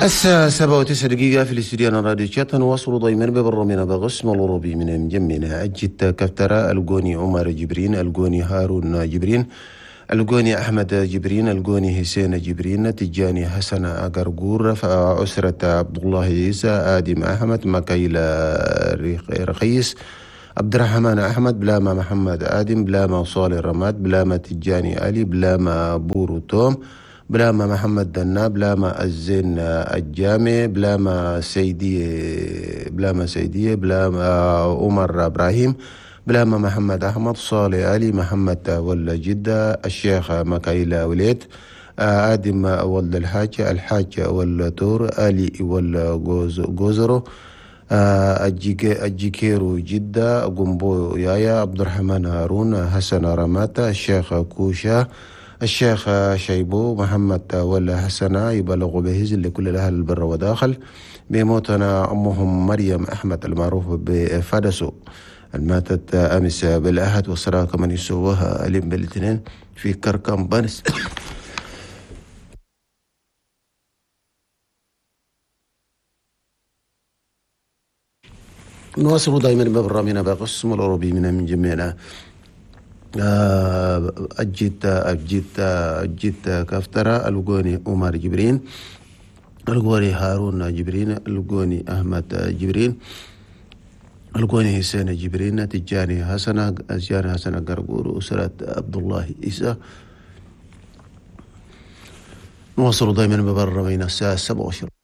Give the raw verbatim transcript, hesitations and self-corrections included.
الساعة سبعة وتسع دقيقة في الاستوديو راديو شات. نواصل دايما ببرنامجنا بغسم الأوروبي من مجمنا أجت كفترة الجوني عمر جبرين، الجوني هارون جبرين، الجوني أحمد جبرين، الجوني حسين جبرين، تجاني حسن أقرقور، أسرة عبد الله عيسى، آدم أحمد، مكايل رخيص، عبد الرحمن أحمد، بلاما محمد آدم، بلاما صالح رماد، بلاما تجاني علي، بلاما بورو توم، بلاما محمد دنا، بلاما الزين الجامع، بلاما سيدي، بلاما سيدي، بلاما عمر إبراهيم، بلاما محمد أحمد، صالح علي، محمد ولا جدة، الشيخ مكايل وليد، آدم ولد الحاج، الحاج ولا تور، علي ولا جوزرو، الجيكيرو جدة، قنبو يايا، عبد الرحمن هارون، حسن رماتا، الشيخ كوشا، الشيخ شيبو، محمد ولا حسنة، يبلغ بهز لكل الأهل البر وداخل. بموتنا أمهم مريم أحمد المعروف بفدسو، الماتت أمس بالأحد، والصلاة كمن يسووها ألم بالاثنين في كركم بنس. نواصل دائما ببرنامجنا بقسم الأوروبي من من جميعنا. أجيت أجيت أجيت كفترة الجوني عمر جبرين، الجوني هارون جبرين، الجوني أحمد جبرين، الجوني حسين جبرين، تجاني حسن، تجاني حسن قرقور، أسرة عبد الله عيسى. نواصل دائما ببرنامجنا الساعة سبعة وعشرين.